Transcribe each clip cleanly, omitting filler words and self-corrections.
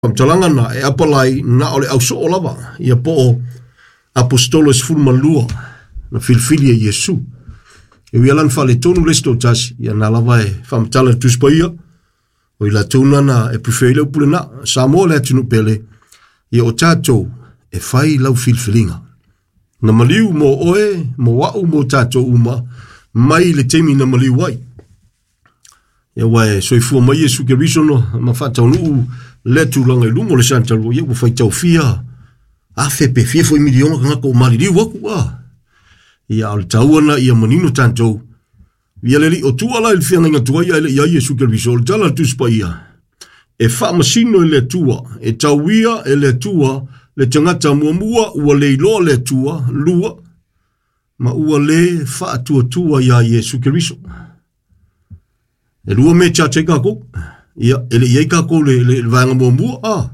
Faamatalaga na e apalai na o le ausoo lava, ia po o aposetolo e 12 na filifili e Iesu. E ui ala na faaletonu le isi toatasi, ia na lava e faamatala i le Tusi Paia, o i latou na na e prefer ai le upu lena. Samoa le atunuu pele, ia o tatou e fai lau filifiliga. Na maliu mo oe, mo au, mo tatou uma, mai le taimi na maliu ai. Ia aua e soifua mai Iesu Keriso no ma faataunuu lea tulaga i luga o le sanitalua, ia ua faitau fia afe pe fia foi miliona tagata ua maliliu atu a. Ia a o le taua na ia manino tatou. Ia le alii o tua la i le feagaiga tuai ae le i ai Iesu Keriso, o le tala a le Tusi Paia, e faamasino e le Atua, e tauia e le Atua le tagata muamua ua le iloa le Atua, lua, ma ua le faatuatua iā Iesu Keriso. E lua mea e charge ai kākou. Ia, e le i ai kākou le, le, le vaega muamua, a.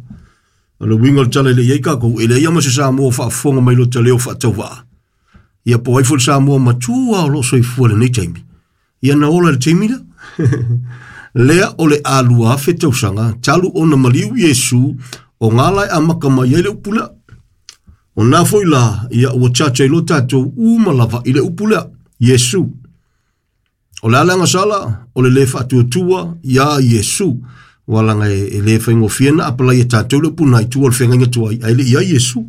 O le uiga o le tala e le i ai kākou, e leai lava ma se Samoa o faafofoga mai lo ta leo faatauvaa. Ia, po o ai foi le Samoa matua o lo o soifua i lenei taimi. Ia na ola i le taimi lea. Lea o le a 2000 tausaga talu ona maliu Iesu o ngā la e amata mai ai le upu lea. O nā foi la, ia ua charge ai loa tātou uma lava i le upu lea, Iesu. O le a le agasala, o le lē faatuatua iā Iesu. Ua laga e, e lē faigofie na apalai e tātou le upu nā i tua o le feagaiga tuai, ae le i ai Iesu.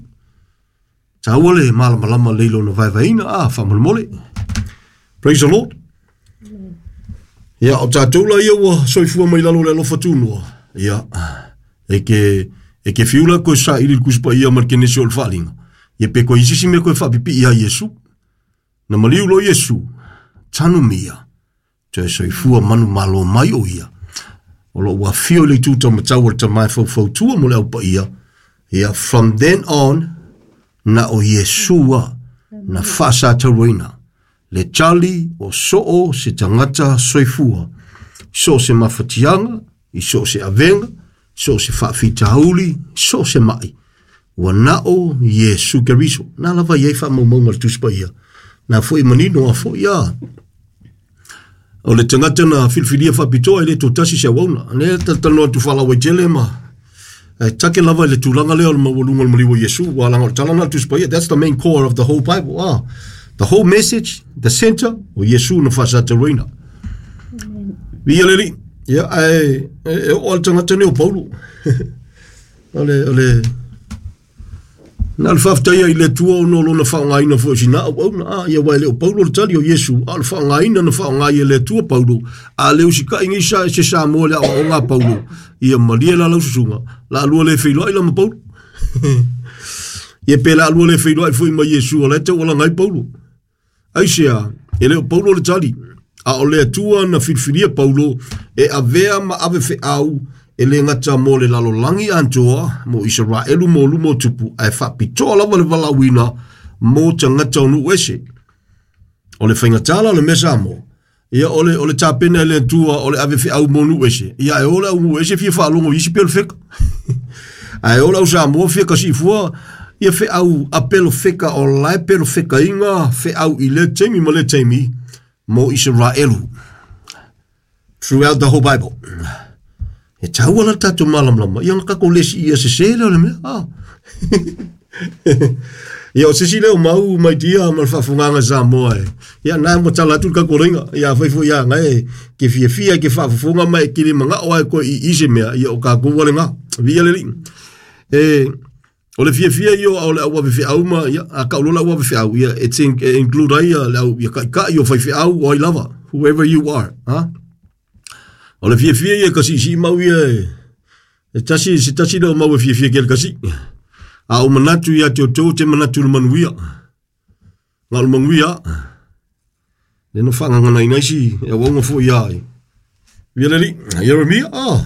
Taua le malamalama lei lona vaevaeina, a, faamolemole. Praise the Lord. Ia, o tātou la ia ua soifua mai lalo o le alofa tunoa. Ia, e ke, e ke fiu la koe saili le Tusi Paia ma le Kenesi o le Faaaliga. Ia pe koe isi si mea koe faapipii iā Iesu. Na maliu loa Iesu, tanumia, toe soifua manumalo mai o ia. O lo o ua afio i le itu taumatau o le Tama e faufautua mo le Au Paia. Ia, from then on, na o Iesu a na faasatauaina le tali o soo se tagata soifua, so o se mafatiaga, i so o se avega, so o se faafitauli, so o se mai. Ua na o Iesu Keriso. Na lava i ai faamaumauga a le Tusi Paia. Na foi manino a foi a. O le tagata na filifilia faapitoa e le toatasi se auauna. Lea talatalanoa atu faalauaitele ma e take lava i le tulaga lea o le maualuga o le maliu o Iesu. Ua laga o le tala lena a le Tusi Paia. That's the main core of the whole Bible. Ah, the whole message, the center, o Iesu na faasataluaina. Viia le Alii. Ia, ae e oo lava le tagata nei o Paulo. O le, o le, na o le faafetaia i le Atua ona o lona faaaogaina foi o sina auauna. A, ia aua e le o Paulo le tali o Iesu, a o le faaaogaina na faaaoga ai e le Atua Paulo, a le usitai nei sa, se Samoa i le aoaoga a Paulo, ia malie la lau susuga, la lua le feiloai la ma Paulo. Ia pe la lua le feiloai foi ma Iesu, o la e taualaga ai Paulo. Aisea, e le o Paulo le tali, a o le Atua na filifilia Paulo e avea ma ave feau e le gata mo le lalolagi atoa, mo Isaraelu mo luma o tupu, ae faapitoa lava le valaauina mo tagata o nuu ese. O le faigatala o le mea Samoa, ia o le, o le tapena e le Atua o le ave feau mo nuu ese, ia ae o le au nuu ese fia faalogo i isi pelofeka. Ae o le au Samoa fia kasiifua ia feau a pelofeka o la e pelofekaina feau i lea taimi ma lea taimi mo Isaraelu. Throughout the whole Bible. E taua la le tatou malamalama, ia ona tatou le siia sese lea o le mea. Ah. Ia o se isi lea o mau mai dia ma le faafofogaaga Samoa e. Ia na ua tala atu le tatou Ia afai foi ia ngai e ke fiafia ke faafofoga ma e kili manao ai koe i i se mea, ia o tatou ua lena. Viia le Alii. E o le fiafia ia o le au ave feau ma ia a tau loa le au ave feau ia e te e include ai ia le au ia taitai o faifeau o ai lava whoever you are, ha? O le fiafia ia ka siisii mau ia e e tasi se tasi lea o mau e fiafia ke le kasi. A o manatu ia te outou te manatu i le manuia. Na o le manuia. Le no whaangangana ina isi e auaunga foi ia ai. Via le Alii, Ieremia, ah.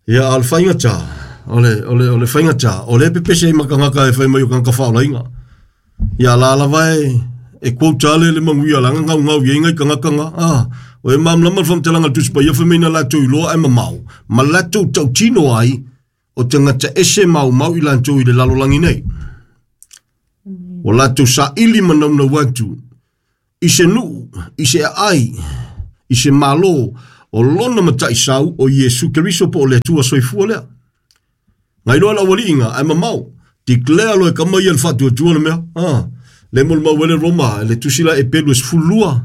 Ia, a o le faigata, o le, o le, o le faigata, o lea e pepese ai ma tagata e fai mai o tagata faaolaina. Ia, la lava e, e quote a le le manuia la gaugau i ai ngai tagata nga, ah, o e malamalama le faamatalaga a le Tusi Paia fai mai na latou iloa ae mamao, ma latou tautino ai o tagata ese maumau i latou i le lalolagi nei. Ua latou saili ma naunau atu i se nuu, i se aai, i se malo. O lona mataʻisau o Iesu Keriso po o le Atua soifua lea. Gailoa le aualiiga ae mamao, declare loa e kama ia le faatuatua le mea. Ah, le molimau ai le Roma le tusi la Epelu e 12,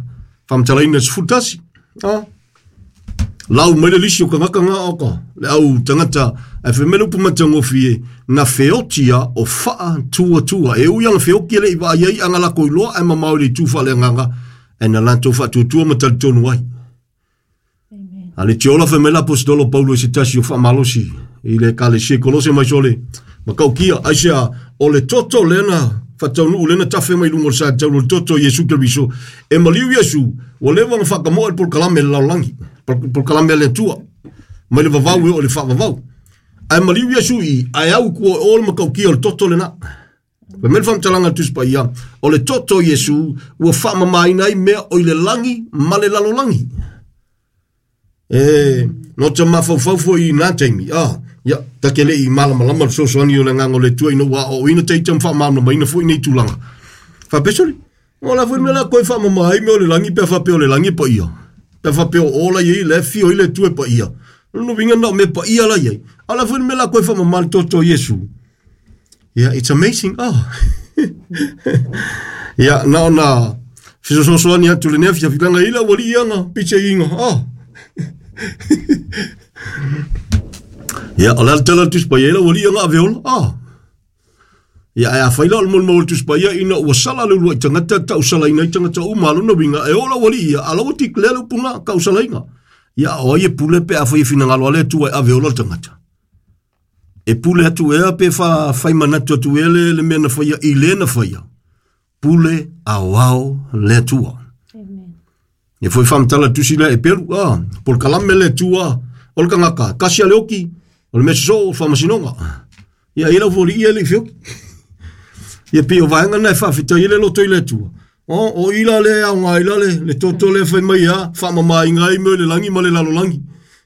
faamatalaina e 11. Ah, lau mai le lisi o tagata nga oka, le au tagata, ae fai mai le upu matagofie, na feotia o faatuatua. E ui ana feoki e le i vaai ai aga lako iloa ae mamao i le itu faaleagaga, ae na latou faatuatua ma talitonu ai. A le tiola fai mai le aposetolo Paulo i se tasi o faamalosi i le ekalesia i Kolose mai sole, matautia, aisea, o le toto lea na faataunuu lea na tafe mai luga o le sa taulu o le toto o Iesu Keriso, e maliu Iesu, ua leva ona faatamoe le polokalame a le lalolagi, polokalame a le Atua, mai le vavau e oo i le faavavau. Ae maliu Iesu i i, ae au i tua o le matautia o le toto lena. Fai mai le faamatalaga a le Tusi Paia, o le toto o Iesu ua faamamaina ai mea o i le lagi ma le lalolagi. E, no te mafaufau foi i nā taimi, ah, ia, ta te le i malamalama le fesoasoani o le agaga o le Atua ina ua aoaoina taita ma faamalamalamaina foi nei tulaga. Faapea, o la foi mea la koe faamama ai mea o le lagi pe a faapea o le lagi e paia. Pe a faapea o ola i ai le afio ai le Atua e paia. O lona uiga na o mea paia la i ai. A o la foi mea la koe faamama le toto o Iesu. Yeah, it's amazing. Oh. yeah, na ona fesoasoani atu lenei afiafi langa ila ua lii anga piche inga. Oh. Yeah, o le ala tala Tusi Paia ila ua lii anga aveola. Oh. Ia, ae afai la o le molimau o le Tusi Paia ina ua sala le uluai tagata tausalaina ai tagata uma, lona uiga e oo la ua alii ia, a la ua declare le upuga tausalaina. Ia, o ai e pule pe afai e finagalo a le Atua e ave ola le tagata. E pule atu ea pe whai manatu atu ea le, le mea na whaia i le na whaia. Pule aoao le Atua. Amen. E foi whamtala tusi lea e peru, ah, pol kalame le Atua, o le kangaka, kasi a le oki, o le mea soso o whamasinoga. Ia, i lau foli ia le i whioki. Ia pei o vaega na e faafetai ai le loto i le Atua. O, o ila le ao ngā ila le, le toto le whai mai a, whaamamainga ai mea o le lagi ma le lalolagi.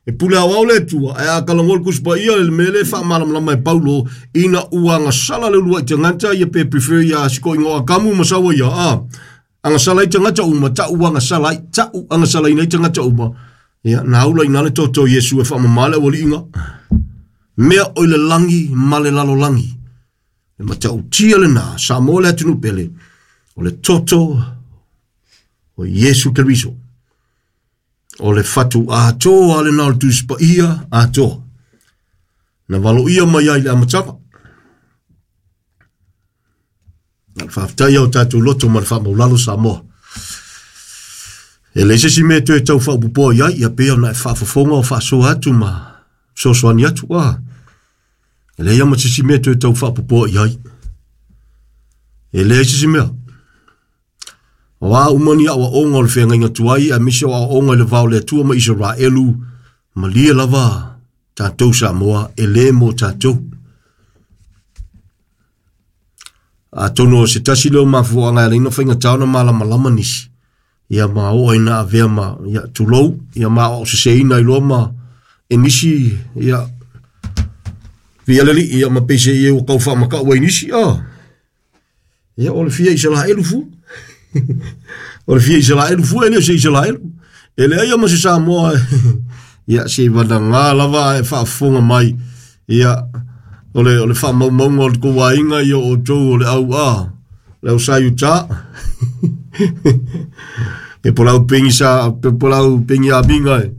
E pule aoao le Atua, ae a kalagoa le Tusi Paia le mea le faamalamalama e Paulo, ina ua agasala le uluai tagata ia pe prefer ia sikoiga o Akamu ma saua ia, a, agasala ai tagata uma, ta'u agasala ai, ta'u agasalaina ai tagata uma. Ia, na aula ina le toto o Iesu e faamama le aualiiga. Mea o i le lagi ma le lalolagi. E matautia lena, Samoa le atunuu pele, o le toto o Iesu Keriso. O le fatu atoa lena o le Tusi Paia atoa. Na valoia mai ai le amataga. Na le faafetai au tatou loto ma le faamaulalo Samoa. E leai se isi mea e toe tau faaopoopoa i ai, ia pei ona e faafofoga o faasoa atu ma fesoasoani atu. Ah, e leai lava ma se isi mea e toe tau faaopoopoa i ai. E leai se isi mea. O a uma ni aoaoga o le feagaiga tuai, aemaise o aoaoga i le va o le Atua ma Isaraelu, malie lava tatou Samoa, e lē mo tatou. Atonu o se tasi lea o mafuaaga e ala ai ona faigata ona malamalama nisi, ia ma oo ai na avea ma, ia, tulou, ia ma aoaoseseina ai loa ma e nisi, ia, via le alii, ia ma peiseai ua tau faamatau ai nisi, ah. Ia, o le fia Isaraelu fua. O le fia Isaraelu fua, e le o se Isaraelu. E leai ma se Samoa. Ia, se i vanaga lava e faafofoga mai. Ia, o le faamaumauga o le tou aiga, ia o outou o le au a, le au sa Utah. E po lau pengi sa, po lau pengi amiga e.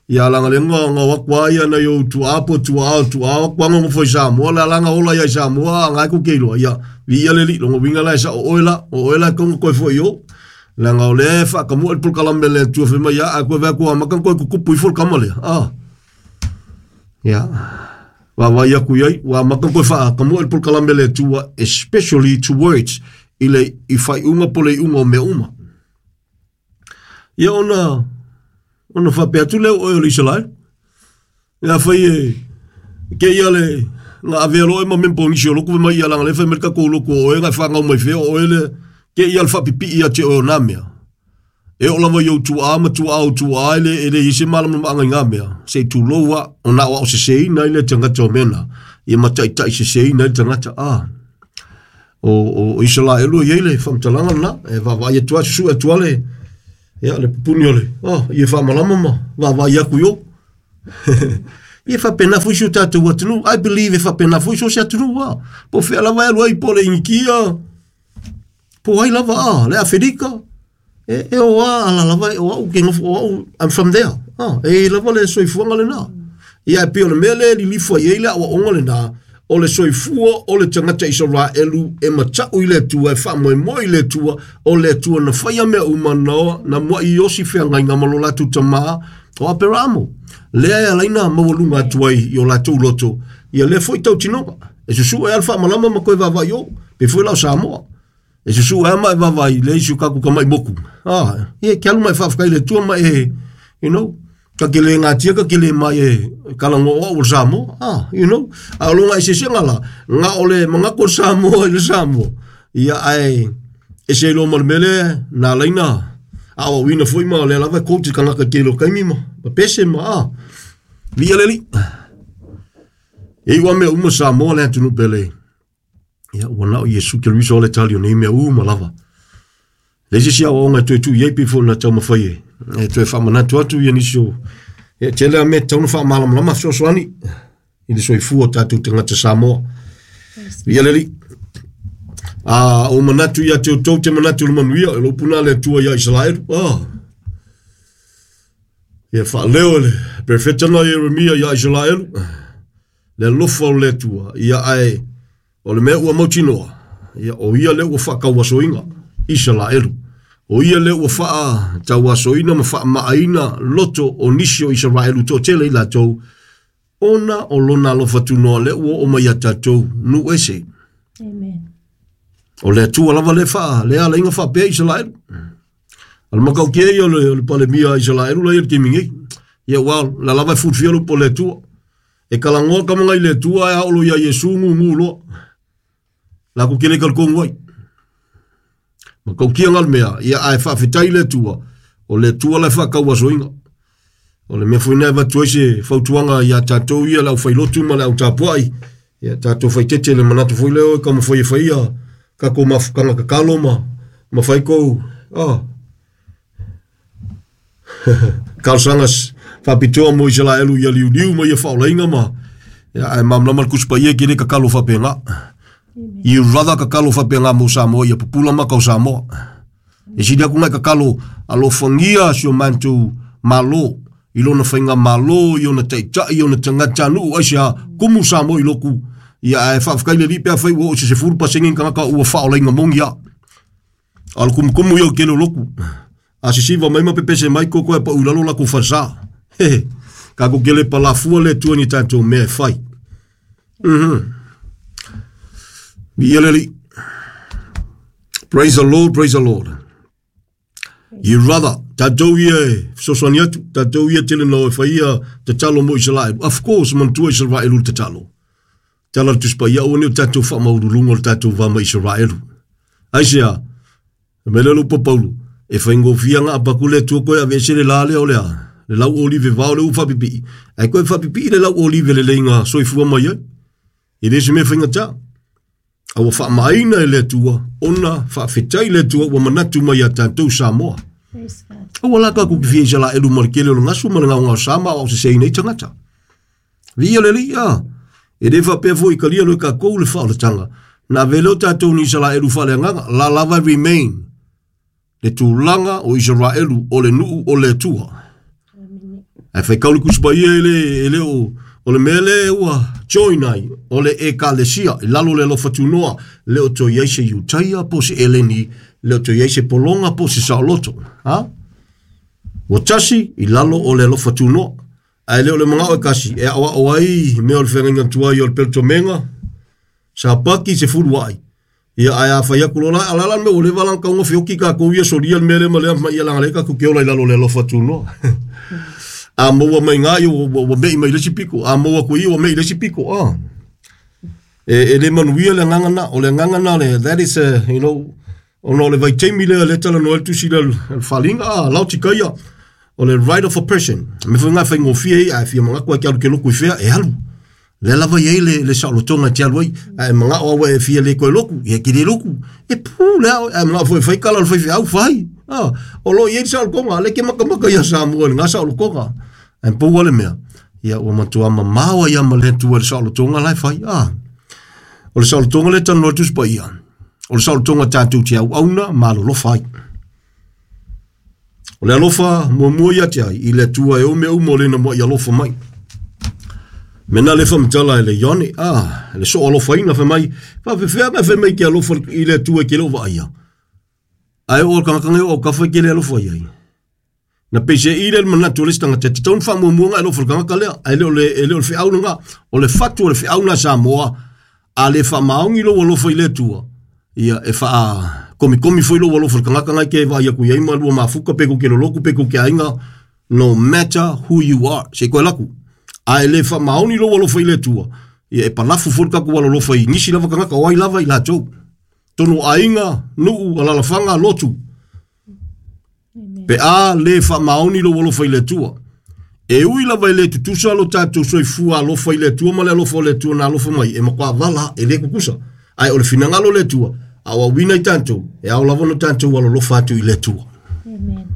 Ia alanga le nga nga wa kwa ia na yo tu apo tu a tu a kwa ngo foi Samoa la langa ola ia Samoa ngai ku ke lo ia vi ia le li longo winga la sa o oela o oela ko ko foi yo la nga o le fa ka mo el pol le tu fe ma ia a ko va ko ma kan ko ku pu fol kama le a ia wa wa ia ku ia wa ma kan ko fa ka mo el pol le tu especially towards i le i fai unga po le unga o mea uma. Ia ona ona faapea atu lea o oe o le Isaraelu. Ia fai e ke ia le nga avea loa e ma mempo nisi o loku mai ia langa le fai mai le tatou loku o oe nga e whangau mai fea o oe le ke ia le whapipii ia te oe o nā mea. E o lava i au tuaa ma tuaa o tuaa e le e le i se malamalamaga i ngā mea. Se i tuloua o na o seseina i le tagata o mea na. Ia mataitai seseina i le tagata. Ah. O Isaraelu e i ai le faamatalaga lena e vaavaai atu ai susue atu ai le Ia, le pupuni o le, oh, ia faamalama ma vaavaai aku i o. Ia faapena foi si o tatou atunuu. I believe e faapena foi so se atunuu a. Po o fea lava e alu ai, po o le Inikia, po o ai lava a, le Aferika. E, e o a ala lava, o au ke nofo, o au, I'm from there. Ah, e i lava le soifuaga lena. Ia e pei o le mea lea e lilifa i ai le aoaoga lena, o le soifua o le tagata Isaraelu e mata'u i le Atua, e faamoemoe i le Atua, o le Atua na faia mea uma na, na mua'i osi feagaiga ma lo latou tamā o Aperaamo. Lea e ala ai na maualuga atu ai i o latou loto, ia lea foi tautinoga. E susu'u ai a le faamalama ma toe vaavaai o, pei foi la o Samoa. E susu ai ma e vaavaai le isi o kaku kama'i moku. Ah, ia ke alu ma e faafetai i le Atua ma e, you know, ka ke le gatia ka ke le mai e kala ngo au o le Samoa. Ah, you know, a o longa eseesega la, na o le manatu o le Samoa i le Samoa. Ia ae ese ai loa ma le mea lea na ala ai na aoaoina foi ma o lea lava e coach le tagata i tele o taimi ma, ma pese ma ah. Viia le Alii. E iu lava mea uma Samoa le atunuu pele. Ia, ua na o Iesu Keriso le tali o nei mea uma lava. Le isi aoaoga e toe tuu i ai pei foi ona taumafai e, e toe faamanatu atu ia nisi o e tele a mea e tatau ona faamalamalama fesoasoani i le soifua o tatou tagata Samoa. Ia le Alii. A o manatu ia te outou te manatu o le manuia, e lou puna le Atua ia Isaraelu. Ah. Ia faaleo e le perofeta na Ieremia ia Isaraelu. Le alofa o le Atua, ia ae o le mea ua mautinoa, ia o ia lea ua faatauasoina Isaraelu. O ia lea ua faatauasoina ma faamaaina loto o nisi o Isaraelu toatele i latou, ona o lona alofa tunoa lea ua oo mai ia tatou nuu ese. Amen. O le Atua lava lea faa, lea alaiga faapea Isaraelu. A le matautia ia o le, o le palemia a Isaraelu la ia le taimi nei. Ia ua la lava e fulufia le upu a le Atua. E talanoa ka maga i le Atua ae aolo ia Iesu gugu loa. La ku kele talitonu ai. Matautia nga le mea, ia ae faafetai i le Atua, o le Atua la e faatauasoina. O le mea foi lena e avatu ai se fautuaga ia tatou ia le aufailotu ma le autapuai, ia tatou faitete le manatu foi lea o e taumafai e fai ia tatou mafutaga tatalo ma, ma fai tou, ah, talosaga faapitoa mo Isaraelu ia liuliu ma ia faaolaina ma ia, ae malamalama le Tusi Paia e te le tatalo faapena. You rather tatalo faapena mo Samoa ia pupula maka o Samoa. E sili atu nai tatalo alofagia si o matou Malo i lona faigamalo, i ona taitai, i ona tagatanuu, aisea kumu Samoa i loku. Ia ae faafetai le Alii pe afai ua oo i se 10% ni tagata ua faaolaina moni a. A o le kumukumu ia o le tele o lotu. A sisiva mai ma pepese mai koko e pau i lalo latou falesa. Hehe. Tatou te le palafua le Atua i ni tatou mea e fai. Mhm. Viia le Alii. Praise the Lord, praise the Lord. You rather, tatou ia e fesoasoani atu, tatou ia tele na o e fai ia tatalo mo Isaraelu. Of course, manatua Isaraelu le tatalo. Tala le Tusi Paia, aua ne i o tatou faamaualuluga o le tatou va ma Isaraelu. Aisea? Fai mai lea o le upu a Paulo, e faigofie aga apaku le Atua koe aveese le la lea o le a? Le lau olive vao lea ua faapipii, ae toe faapipii le lau olive lelei na soifua mai ai. E le o se mea faigata. A ua faamaaina e le Atua ona faafetai le Atua ua manatu mai ia tatou Samoa. Aua la tatou te fia Isaraelu ma le tele o le gasu ma le gaogaosa ma aoaoseseina ai tagata. Viia le Alii, a! E le faapea foi i talia loa e tatou le faaolataga, na ave lea o tatou ni Isaraelu faaleagaga, la lava e remain le tulaga o Isaraelu o le nuu o le Atua. Ae faitau le Tusi Paia e le, e le o, o le mea lea ua join ai, o le Ekalesia, i lalo o le alofa tunoa, le o toe i ai se Iutaia po o se Eleni, le o toe i ai se pologa po o se saoloto. Ha? Ua tasi i lalo o le alofa tunoa. Ae le o le manao e kasi e aoao ai mea o le feagaiga tuai o le peletomega, sapaki se fuluai. Ia ae a fai atu loa la, a la la le mea ua leva la ona tatau ona feoti tatou ia solia le mea lea ma lea ma ia leaga lea tatou te ola i lalo o le alofa tunoa. A maua mai ina ia ua, ua, ua me'i mai le isi pito, a maua atu i i ua me'i i le isi pito. Ah. E, e le manuia le agaga na, o le agaga na le, that is a, you know, ona o le vaitaimi lea lea talanoa ai le tusi lea le faaaliga, ah, Laotikaia, o le right of oppression. Me foi ngā whaingofie ai, a e fia manatu ai ke alu ke loku i whea, e alu. Lea lava i ai le, le saolotoga e te alu ai, a e mangao aua e fia le koe loku, ia ke le loku. E pū le ao, a e mangao foi whai kala o le whai wheau, whai. A, o lo o i ai le saolotoga, lea e te makamaka ia Samoa i lena saolotoga. Ae pau lava le mea, ia ua matua mamao ai lava ma le Atua i le saolotoga la e fai. A, o le saolotoga lea e talanoa atu Tusi Paia, o le saolotoga tatou te auauna ma alolofa ai. O le alofa muamua ia te ai i le Atua e o mea uma o lena mua'i alofa mai. Me na le whamatala e le Ione, a, le so alofaina fai mai, whawhewhea mai fai mai ke alofa i le Atua e ke leo vaaia. Ae o le kanaka o kafa ke le alofa i ai. Na peise i le manatu o le isi tagata, e tatau ona faamuamua ona e alofa i le tagata lea, ae le o le, e le o le feau lena. O le fatu o le feau na Samoa, a le faamaoni lou alofa i le Atua, ia e faakomikomi foi lou alofa i le tagata na e te vaai atu i ai ma lua mafuta pe tou te lolotu pe tou te aiga, no matter who you are. Se i toe alu atu. A e le faamaoni lou alofa i le Atua, ia e palafu foi le tatou alolofa i nisi lava tagata o ai lava i latou. Tonu o aiga, nuu, alalafaga, lotu. Pe a le faamaoni lou alofa i le Atua. E ui lava e le tutusa lo tatou soifua alofa i le Atua ma le alofa o le Atua na alofa mai, e matua vala, e le tutusa. Ae o le finagalo o le Atua, a o auina i tatou, e ao lava ona tatou alolofa atu i le Atua. Amen.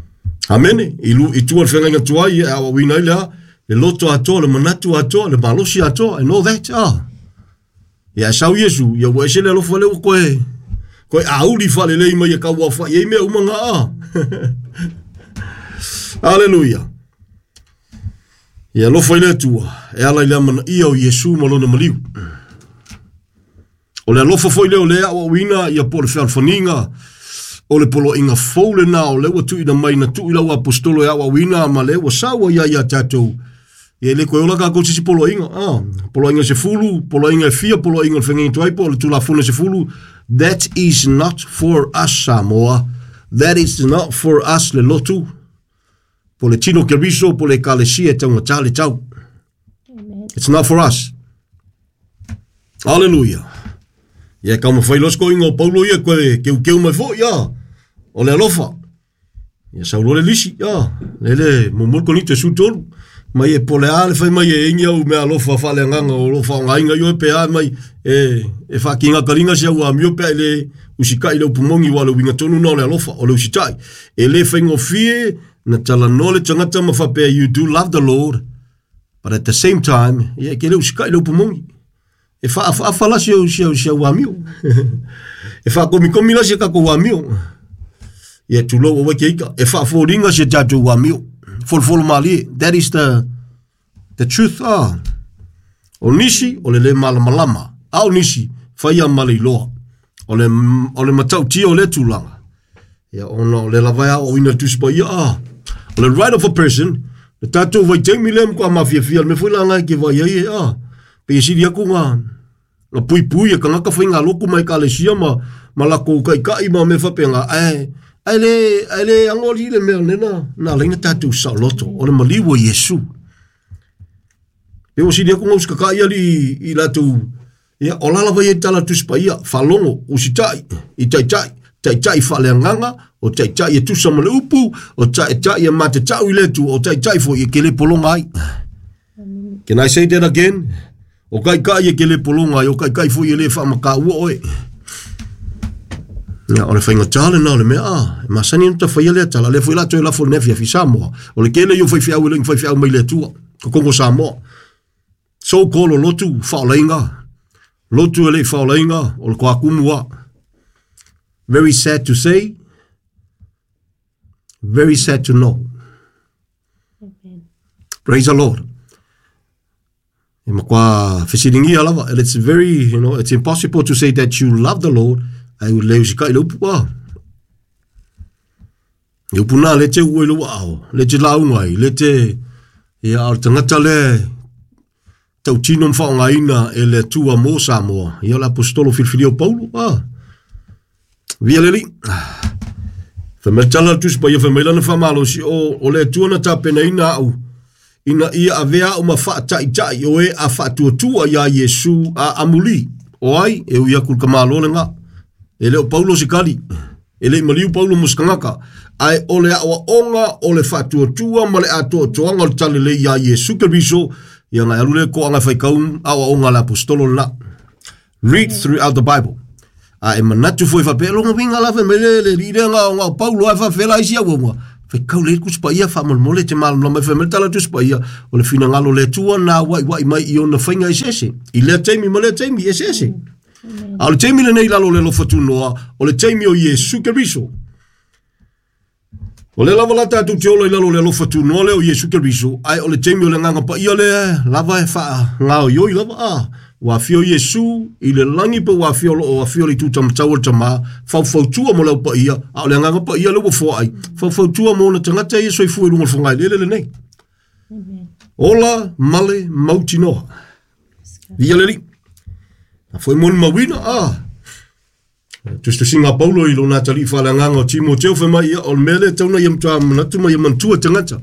Amene. I, lu, i tua le feagaiga tuai, e aoaoina ai le a, le loto atoa, le manatu atoa, le malosi atoa, and all that. Ah. Ia e sau Iesu, ia ua ese le alofa lea ua koe, koe auli faalelei mai e kauaofa'i ai mea uma ga a. Aleluia. Ia alofa i le Atua, e ala i le amanaia o Iesu ma lona maliu. O le alofa foi lea o lea aoaoina ia po o le fealofaniga, o le poloaiga fou lena o lea ua tuuina mai na tuu i lau aposetolo e aoaoina ma lea ua sau ai ia tatou. Ia e le toe ola tatou se isi poloaiga. Ah, poloaiga 10, poloaiga e fia, poloaiga o le feagaiga tuai po o le Tulafono 10. That is not for us, Samoa. That is not for us, le lotu. Po le tino Keriso, po le ekalesia e taugata le tau. Amen. It's not for us. Hallelujah. Ia e taumafai loa se toeaina o Paulo ia koe keukeu mai foi, ah. O le alofa. Ia sau loa le lisi, ah, lele muamua le Korinito e 13. Mai e po o le a le fai mai e ingi au meaalofa faaleagaga o lo o faaaogaina i oe pe a mai e, e faakigakaliga si au amio pe a i le usitai i le upu moni aua o le uiga tonu lena o le alofa, o le usitai. E le faigofie na talanoa le tagata ma faapea you do love the Lord but at the same time ia e te le usitai i le upu moni. E faaafaafa la si au, si au, si au amio. e faakomikomi la si a tatou amio. Ia tulou aua ke ika. E faafoliga si a tatou amio. Folofolo malie. That is the, the truth. Ah. O nisi, o le le malamalama. A o nisi, whaia ma le iloa. O le, o le matautia o le tulaga. Ia, ona o le lava e aoaoina le Tusi Paia, ah. O le right of a person, le tatou vaitaimi lea matua mafiafia, le mea foi la nga e ke vaai ai e, ah, pei e sili atu nga, nga puipui e kangaka faigalotu ma ekalesia ma, ma lakou taitai ma mea faapena, ae, ae le, ae le ago alii le mea lena, na ala ai ona tatou saoloto, o le maliu o Iesu. Pei ua sili atu nga usitatai alii i latou Ia, o la lava ia i tala a le Tusi Paia, faalogo, usitai, i taitai, taitai faaleagaga, o taitai e tusa ma le upu, o taitai e matatau i le Atua, o taitai foi e ke le pologa ai. Can I say that again? O taitai e ke le pologa ai, o taitai foi e le faamataua oe. Ia, o le faigata lena o le mea, ah, e masani ona tafaia lea tala, lea foi la toe lafo i lenei afiafi Samoa. O le tele ia o faifeau e le i faifeau mai le Atua, totonu o Samoa. So called o lotu faolaina, lotu e le i faolaina, o le toakumu a. Very sad to say, very sad to know. Amen. Praise the Lord. E matua fesiligia lava, and it's very, you know, it's impossible to say that you love the Lord, ai u le usikai le upu a. E upu nā, le te ua i lou aao, le te lauga ai, le te, ia, a o le tagata lea e tautino ma faaaogaina e le Atua mo Samoa, ia o le aposetolo filifilia o Paulo, ah. Via le Alii. Fai mai le tala a le Tusi Paia, fai mai lana faamalosi, o, o le Atua na tapenaina au, ina ia avea au ma faataitai o e a faatuatua iā Iesu a amuli. O ai? E ui atu i le tamaloa lena. E le o Paulo se kali. E le i maliu Paulo mo se tagata. Ae o le aoaoga o le faatuatua ma le atoatoaga o le talalelei iā Iesu Keriso, ia na e alu lea e toaga e faitau aoaoga a le aposetolo lena. Read throughout the Bible. A e manatu foi faapea, lona uiga la fai mai le le alii lea na o na o Paulo ae faafefea la isi auauna. Faitau lelei le Tusi Paia faamolemole e te malamalama ai. Fai mai le tala o le Tusi Paia, o le finagalo o le Atua na auaiuai mai i ona faiga eseese, i lea taimi ma lea taimi eseese. A o le taimi lenei i lalo o le alofa tunoa, o le taimi o Iesu Keriso. O lea lava la tatou te ola i lalo o le alofa tunoa lea o Iesu Keriso, ae o le taimi o le Agaga Paia lea lava e faagaoioi lava, a ua afio Iesu i le lagi pe ua afio o lo o afio i le itu taumatau o le Tama, faufautua mo le au paia, a o le Agaga Paia lea ua foai, faufautua mo ona tagata ia soifua i luga o le fogaeleele lenei. Ola male mautinoa. Viia le Alii. A foi molimauina, a Tusitusiga a Paulo i lona atalii faaleagaga o Timoteo fai mai ia, o le mea lea tau na ia matua manatu ma ia manatua tagata.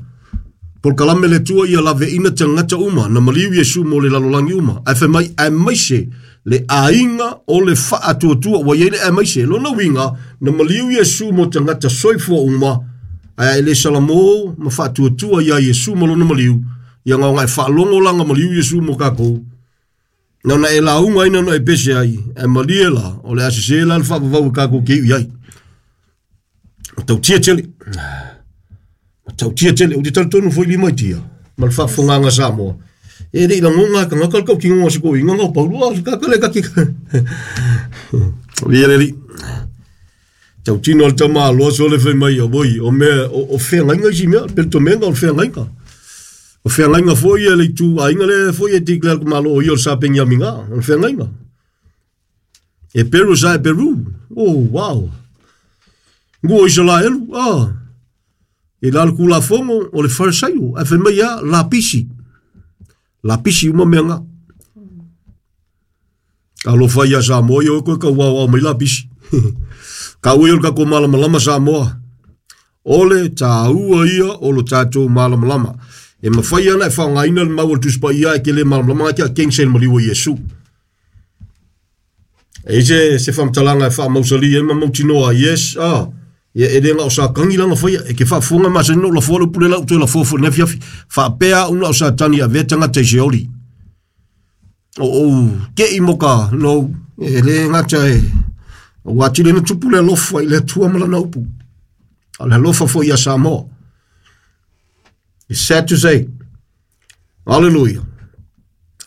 Polokalame le Atua ia laveina tagata uma, na maliu Iesu mo le lalolagi uma. Ae fai mai, aemaise le aiga o le faatuatua, ua i ai le aemaise. Lona uiga, na maliu Iesu mo tagata soifua uma, ae e le salamo ma faatuatua ia Iesu ma lona maliu, ia gaogae faalogo langa maliu Iesu mo kakou. Na ona e lauga ai na ona e pese ai, ae malie la, o le a sese la le faavavau e kākou ke iu i ai. Matautia tele. Matautia tele. Ou te talitonu foi lima i tia, ma le faafofogaga Samoa. E le i lagoga e tagata le tautinoga o se toeaina na o Paulo, a o se tagata le kaki. Ia le alii. Tautino le tamaloa sole fai mai, oi, o mea, o feagaiga isi mea, peletomega o le feagaiga. O feagaiga foi ia le itu aiga lea foi e declare le malo o ia o le Sa Peniamina, o le feagaiga. E Peru sa e Peru. Oh, wow. Ngua Isalaelu, ah. E la le kulafono o le Farisaio, ae fai mai ia lapisi. Lapisi uma mea nga. Alofa ia Samoa ia oe koe kau aoao mai lapisi. Ka ua ia o le tatou malamalama Samoa. O le tāua ia o lo tatou malamalama. E mafai ana e faaaogaina le mau o le Tusi Paia e te le malamalama ai te keng se maliu o Iesu. E i se, se faamatalaga e faamausali ai ma mautinoa ai, yes, ah, ia e le na o Satani lana faia, e ke faafofoga masani na ou lafoa le upu lea la ou toe lafoa foi i lenei afiafi. Faapea au na o Satani e avea tagata i se oli. O ou kei mo ka no, e le gata e, ua atili na tupu le alofa i le Atua ma lana upu. A o le alofa foi ia Samoa. It's sad to say. Hallelujah.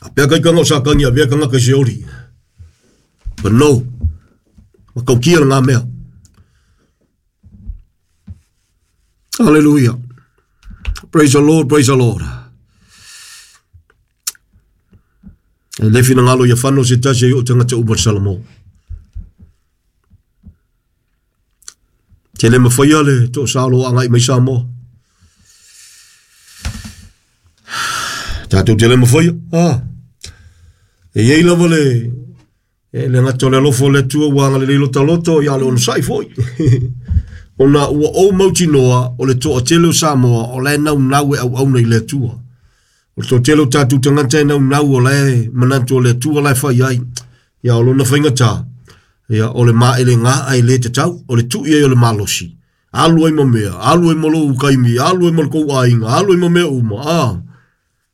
A pea kai kanga o Satani avea tagata i se oli. But no. Matautia le ngā mea. Hallelujah. Praise the Lord, praise the Lord. E le finagalo ia whano se tasi ai o tangata uma Salamo. Te le mawhaia le to salo a ngai mai Samoa. Tātou te le mawhaia. Ah. E iei lava le, e le gata o le alofa o le Atua ua agalelei lota loto, ia o le onosai foi. Ona ua ou mautinoa o le toatele o Samoa o la e naunau e auauna i le Atua. O le toatele o tatou tagata e naunau o la e manatu o le Atua la e fai ai. Ia o lona faigata, ia o le maelega e le tatau, o le tui ai o le malosi. Alu ai ma mea, alu ai ma lou kaimi, alu ai ma le kou aiga, alu ai ma mea uma, a.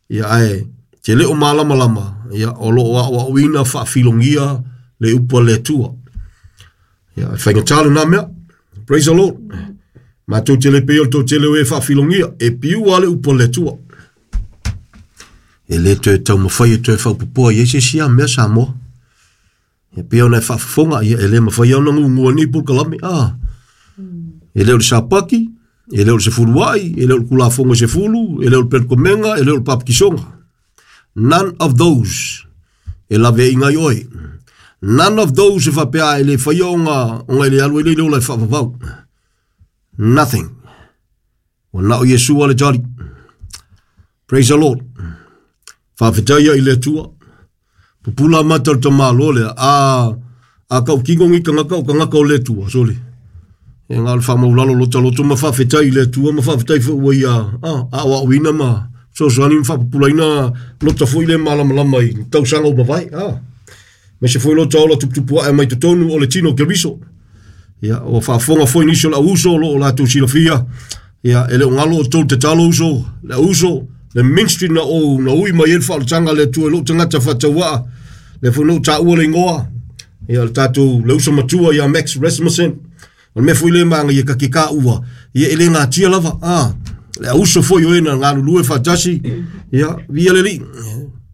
Ia ae te le o malamalama, ia o lo o aoaoina faafilogia le upu a le Atua. Ia e faigata lena mea. Praise the Lord. Matou te le pei o le toatele o e faafilogia, e piua le upu a le Atua. E le toe taumafai e toe faaopoopoa i ai se isi a mea Samoa. E pei ona e faafofoga, ia e le mafai ona gugua nei polokalame. Ah, e le o le Sapati, e le o le sefuluai, e le o le Tulafono e sefulu, e le o le Pelekomega, e le o le Papatisoga. None of those e laveaiga ai oe. None of those e faapea e le faia ona, ona e le alu ai le ola e faavavau. Nothing. Ua na o Iesu a le tali. Praise the Lord. Faafetai i le Atua. Pupula mata o le tamaloa lea. A, a kautino ni tagata o tagata o le Atua, sole. E ngā o le whamaulalo lota loto ma faafetai i le Atua ma faafetai foi ua ia a, aoaoina ma fesoasoani ma faapupulaina lota foi le malamalama i tausaga ua mavae. A, aemaise foi lota ola tuputupu ae mai totonu o le tino o Keriso. Ia, ua faafofoga foi nisi o le au uso o lo o latou silafia. Ia, e le o galo outou tatalo uso, le au uso, le ministry na ou na ui mai ai le faaolataga a le Atua i lou tagata faatauaa, lea foi na ou taua le igoa. Ia le tatou le uso matua ia Max Rasmussen. O le mea foi le maga ia kake ka ua. Ia e le gatia lava. Ah, le auso foi o e na galulue faatasi. Ia, via le alii.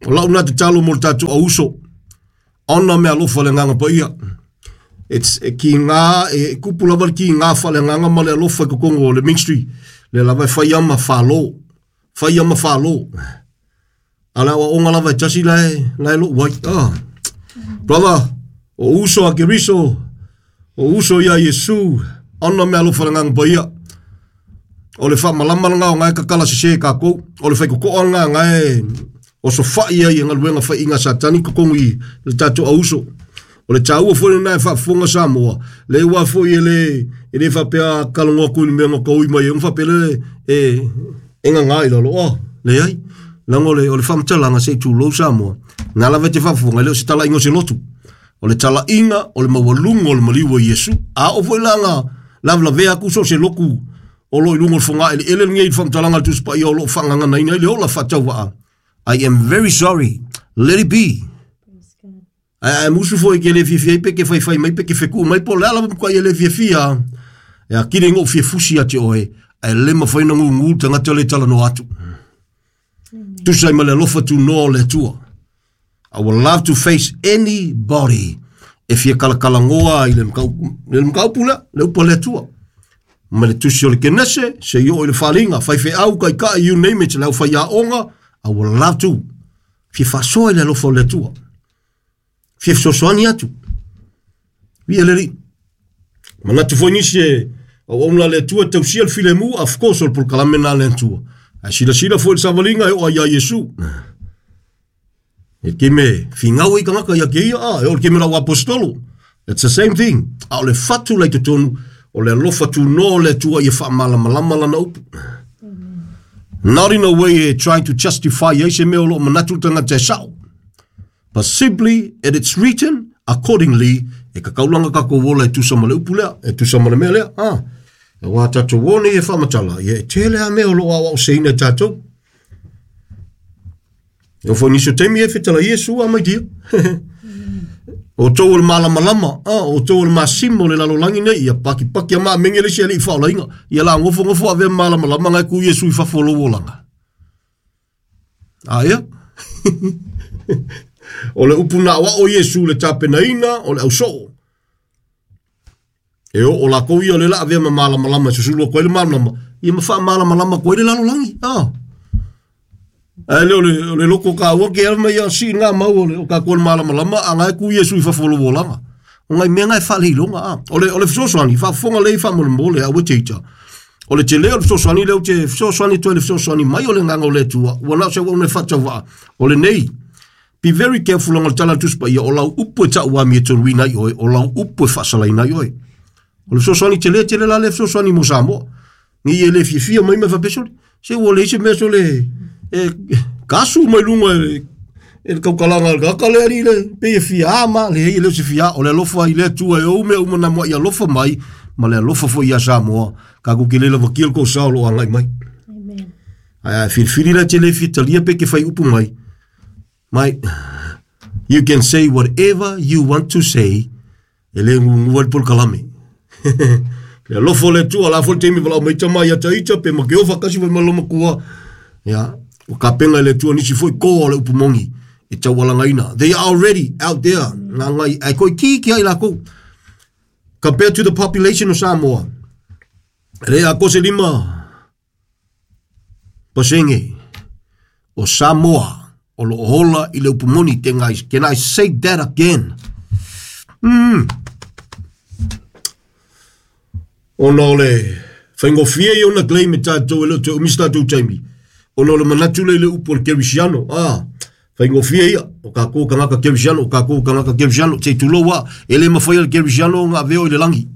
O lau na tatalo mo le tatou auso. Ona mea alofa le agaga paia. It's e ki ngā, e kupu lava le ki ngā whaleagaga ma le alofa i kokongo o le ministry. Le lava e whai ama whalo. Whai ama whalo. A le aoaoga lava e tasi la e, la e lou ai. Ah. Brother, o uso a Keriso, o uso ia Iesu, ona mea alofa le agaga paia. O le faamalama lena o ngae kakala sese kākou, o le whaikokoa lena ngae osofai ai e galuega faiiga a Satani totogi i le tatou auso. O le taua foi lena e faafofoga Samoa, le ua foi e le e le faapea kalogo atu i le mea na taui mai ai ona faapea lea e e gaga i lalo. Oh, leai. Leaga o le o le faamatalaga se i tulou Samoa, na lava e te faafofoga, e le o se talaiga o se lotu. O le talaiga o le maualuga o le maliu o Iesu. A oo foi la na lavelavea atu so o se lotu o lo o i luga o le fogaeleele lenei i le faamatalaga a le Tusi Paia o lo o faagaganaina ai le ola faatauvaa. I am very sorry. Let it be. Praise God. Ae ae musu foi ke le fiafia ai pe ke faifai mai pe ke fekuu mai po o le a lava matuai e le fiafia. E akili ngou fia fusi ia te oe, ae le mafai ona gugu le tagata le talanoa atu. Tusa ai ma le alofa tunoa o le Atua. I would love to face anybody e fia kalakalanoa i le mataupu, le mataupu lea, le upu a le Atua. Ma le tusi o le Kenese, se i oo i le faaaliga, faifeau, taitai, you name it, le aufaiaoga, I would love to fia faasoa i le alofa o le Atua. Fia fesoasoani atu. Viia le Alii. Manatu foi nisi e auauna a le Atua e tausia le filemu, of course o le polokalame lena a le Atua. Ae silasila foi i le savaliga e oo ai ia Iesu. E keme figau ai tagata ia te ia, ah, e oo i le keme lau aposetolo. It's the same thing. A o le fatu la i totonu, o le alofa tunoa o le Atua ia faamalamalama lana upu. Not in a way e trying to justify ai se mea o lo o manatu le tagata e sao. But simply it it's written accordingly e kakaulanga kakou ola e tusa ma le upu lea, e tusa ma le mea lea. Ah, aua tatou o nei e faamatala, ia e tele a mea o lo o aoaoseina e tatou. E oo foi nisi o taimi e fetala Iesu a mai dia. O tou o le malamalama, ah, o tou o le masima o le lalolagi nei, ia pakipaki a maamenge le isi alii faaolaina. Ia la gofogofoa avea malamalama ngai ku Iesu i fafo o lou olaga. A ia. o le upu na aoao Iesu le tapenaina o le ausoo. E oo lakou ia o le la avea ma malamalama e susulu atu ai le malamalama, ia ma faamalamalama atu ai le lalolagi. Ah. Ae le o le, o le loko kaua ke ala mai ia sii ngā mau o le o kākou le malamalama a ngai ku Iesu i fafo o lou olaga. O ngai mea ngai faaleiloga a. O le, o le fesoasoani, faafofoga lei faamolemole a ua teita. O le tele o le fesoasoani lea ou te fesoasoani atu ai le fesoasoani mai o le agaga o le Atua, ua na o se auauna e faatauvaa. O lenei, be very careful leaga o le tala a le Tusi Paia, o lau upu e tau amiotonu ai oe, o lau upu e faasalaina ai oe. O le fesoasoani tele tele la lea fesoasoani mo Samoa. Nei e le fiafia mai ma faapea sole, se ua leai se mea sole e kasu mai luga e e le tautalaga a le tagata lea alii le pei e fia ma leai e le o se fia o le alofa i le Atua e ou mea uma na mua'i alofa mai ma le alofa foi ia Samoa tatou te le lavakia le tou sao o lo o agai mai. Amen. Ae a filifili la te le fia talia pe ke fai upu mai mai you can say whatever you want to say e le gugua le polokalame. Le alofa o le Atua, la foi le taimi valaau mai tama ia Taita pe ma Keofa kasi foi ma loma kua. Ia, ua kapenga e le Atua nisi foi koa o le upu moni e taualagaina. They are already out there. Ngā ngai, ai koi ki ki ai lākou. Compared to the population of Samoa, le a ko se 5% o Samoa o lo o hola i le upu moni. Can I say that again? Ona o le faigofie ia ona claim e tatou e le o toe umi se tatou taimi. Ona o le manatu lea i le upu o le kerisiano. Ah, faigofie ia, o kākou tagata kerisiano, o kākou tagata kerisiano, se i tulou lava, e le mafai e le kerisiano ona avea oe i le lagi.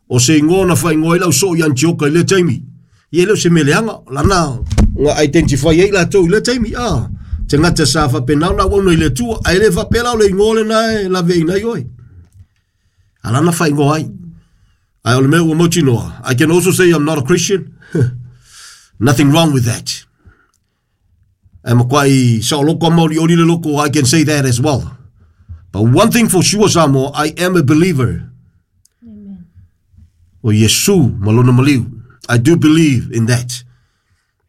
O se igoa na faaigoa ai lau soo i Antioka i lea taimi. Ia e le o se mea leaga, lana na identify ai latou i lea taimi, ah, tagata sa faapena ona auauna i le Atua, ae le faapea la o le igoa lena e laveaiina ai oe. A lana faaigoa ai. Ae o le mea ua mautinoa, I can also say I'm not a Christian. Nothing wrong with that. Ae matuai saoloko a maolioli le loko, I can say that as well. But one thing for sure, Samoa, I am a believer. Amen. O Iesu ma lona maliu. I do believe in that.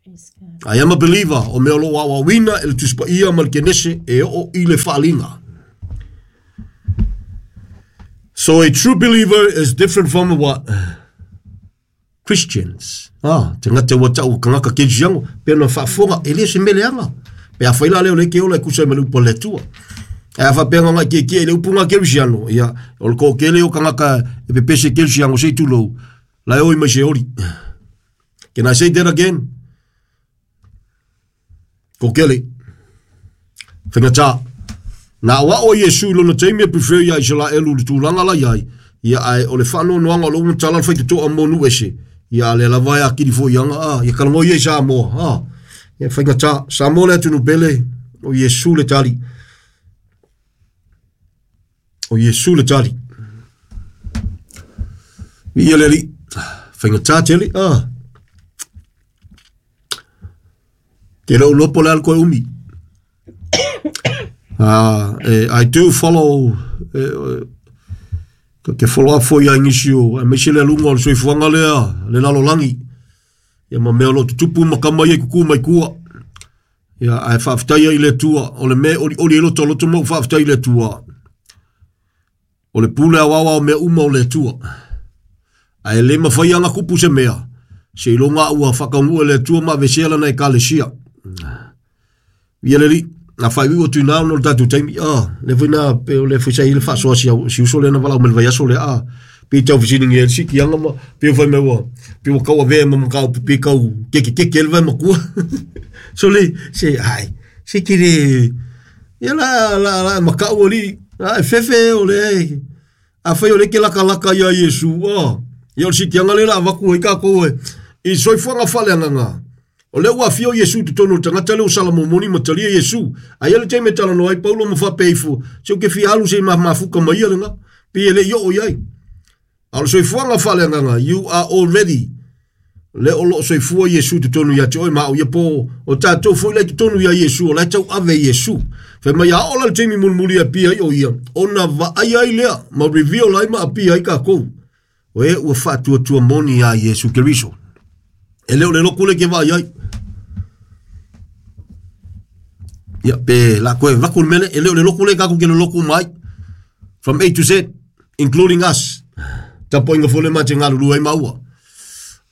Praise God. I am a believer o mea o loo aoaoina e le Tusi Paia ma le Kenese e oo i le faaliga. So a true believer is different from what? Christians. Ah, te ngata ua tau kangaka kerisiano, pe na faafofoga, e le se mea leaga. Pe afai la lea o le ke ola e kusa ai ma le upu a le Atua. Ae a faapea nga ngai kiekie i le upu nga kerisiano, ia, o le toatele o kangaka e pepese kerisiano se i tulou, la e oi mai se oli. Can I say that again? Toatele. Faigata. Na aoao ai Iesu i lona taimi e prefer iā Isaraelu i le tulaga la i ai, ia ae o le faanoanoaga o lou matala le faitotoa mo nuu ese, ia a lea lava e akili foi anga, a, ia talanoa ia i Samoa, a, ia faigata, Samoa le atunuu pele, o Iesu le tali. O Iesu le tali. Viia le Alii. Faigata tele, a. Te lou lopo le alu koe umi. I do follow ke follow up foi ai nisi o aemaise le aluga o le soifuaga lea le lalolagi ia ma mea o lo o tutupu ma kama ia i kuku mai kua. Ia ae faafetai ai i le Atua o le mea e olioli ai loto loto ma ou faafetai i le Atua. O le pule aoao o mea uma o le Atua. Ae le mafai ana kupu se mea, seiloga ua faataunuu e le Atua ma aveesea lana ekalesia. Ia le alii, na faaiuiu atu i ina ona o le tatou taimi, ah, le foi na, pe o le foi sa i le faasoa si, au, si uso lea na valaau mai le vaiaso lea, ah, pe tau fesiligia e le sikiaga ma, pe fai mai ua, pe ua tau avea ma mataupu pe tau kekekeke ai le vae matua. So le, se, ai, se ke le, ia la, la, la makau alii, la e fefe o le, afai o le ke lakalaka ia Iesu, ah, ia o le sikiaga lea la avatu ai tatou e, i soifuaga faaleagaga. O lea ua afio Iesu i totonu o le tagata lea ua salamomoni ma talia Iesu. Aia le taimi e talanoa ai Paulo ma faapea ifo, se ou te fia alu se i mafuta mai ia lena, pei e le i oo i ai. A o le soifuaga faaleagaga, you are already le o loo soifua Iesu i totonu ia te oe ma au ia po o tatou foi la i totonu ia Iesu o la e tauave Iesu. Fai mai a oo la le taimi mulimuli e apia ai o ia, ona vaai ai lea ma reveal ai ma apia ai tatou. O e ua faatuatua moni iā Iesu Keriso. E le o le loku le ke vaai ai. Ia, pe la koe vaku le mele, e le o le loku le kaku ke le loku mai. From A to Z, including us. Tapoinga fole ma te ngalulu ai maua.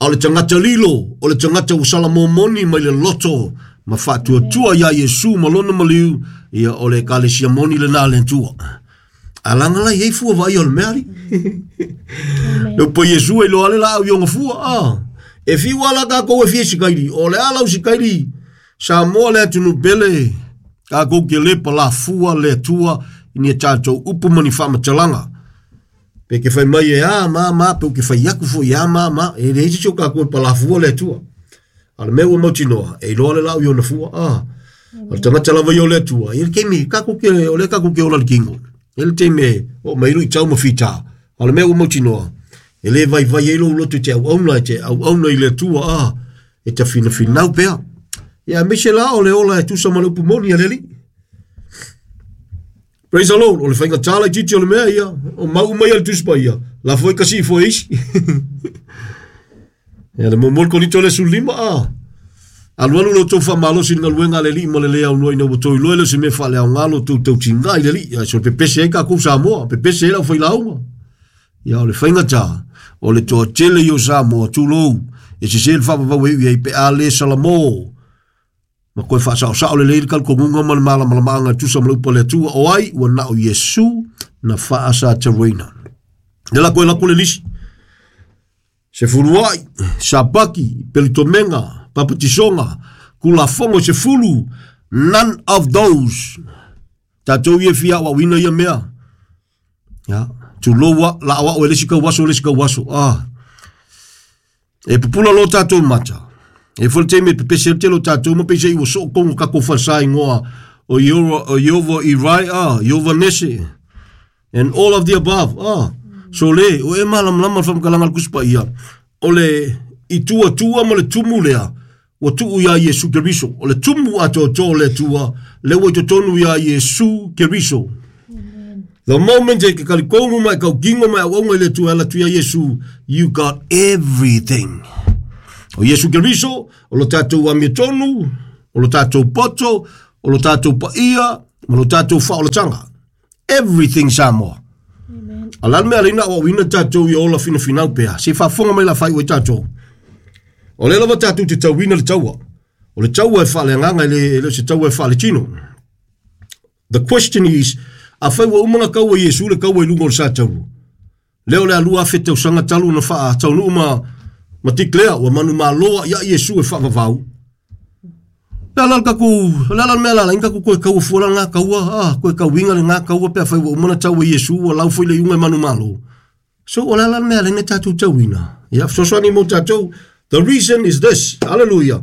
A o le tagata lilo, o le tagata ua salamomoni mai le loto ma faatuatua iā Iesu ma lona maliu, ia o le ekalesia moni lena a le Atua. A langa la iai fua vaai o le mea ali. Le upu a Iesu e iloa le laau i ona fua. Ah, e fiu ala tatou e fia sikaili. O le ala o sikaili, Samoa le atunuu pele, tatou te le palafua le Atua i ni a tatou upu ma ni faamatalaga. Pe ke fai mai e a ma ma, pe ke fai aku foi e a ma ma, e leai se isi o tatou e palafua le Atua. A o le mea ua mautinoa, e iloa le laau i ona fua. Ah, o le tagata lava ia o le Atua, i le taimi, tatou te, o lea tatou te ola i le kino. I le taimi e oo mai ai luitau ma fita. A o le mea ua mautinoa, e le vaivai ai lou loto i te auauna, e te auauna i le Atua, ah, e ta finafinau pea. Ia, aemaise la o le ola e tusa ma le upu moni a le Alii. Praise the Lord, o le faigata laitiiti o le mea ia, o mau uma ia le Tusi Paia, la foi kasi ifo e isi. Ia le muamua le Korinto le 15 a. Alualu lo tou faamalosi i le galuega a le Alii ma le le aunoa ina ua tou iloa e le o se mea faaleaoga lo tou tautiga i le Alii. Ia, so pepese ai tatou Samoa, pepese ai le aufailauga. Ia o le faigata, o le toatele ia o Samoa, tulou, e sese le faavavau e iu i ai pe a le salamo. Ma koe faasaosao lelei le talitonuga ma le malamalamaaga e tusa ma le upu a le Atua, o ai ua na o Iesu na faasataroina. Le la koe lako le lisi. Se fuluai, sapaki, pelitomega, papatisoga, kulafono se fulu, none of those. Tatou ia fia aoaoina ia mea. Ya, tulou a, la aoao e le isi tauaso, le isi tauaso. Ah. E pupula loa tatou mata. E foi le taimi e pepese ai le tele o tatou ma peiseai ua soo tonu tatou falesa igoa o Iova, o Iova Irai, ah, Iova Nese, and all of the above, ah. So le, o e malamalama le faamatalaga a le Tusi Paia, o le i tuatua ma le tumu lea, ua tuu iā Iesu Keriso. O le tumu atoatoa o le Atua, lea ua i totonu iā Iesu Keriso. The moment e ke talitonu ma e tautino ma e auauna i le Atua e ala atu ia Iesu, you got everything. O Iesu Keriso, o lo tatou amiotonu, o lo tatou poto, o lo tatou paia, ma lo tatou faaolataga. Everything Samoa. Amen. A la le mea leina auauina tatou ia ola finafinau pea. Se faafofoga mai la fai ua tatou. O lea lava tatou te tauina le taua. O le taua e faaleagaga e le, e le o se taua e faaletino. The question is, afai ua uma na taua Iesu le taua i luga o le sa taua. Lea o le a 2000 tausaga talu na faataunuu ma ma declare ua manumalo ia Iesu e faavavau. Le ala le tatou, le ala le mea la la tatou toe taua fua la ngā taua, ah, toe tauiga le ngā taua pe afai ua uma na taua Iesu ua lau foi le iuga e manumalo. So o le ala le mea lena tatou tauina. Ia fesoasoani mo tatou. The reason is this. Hallelujah.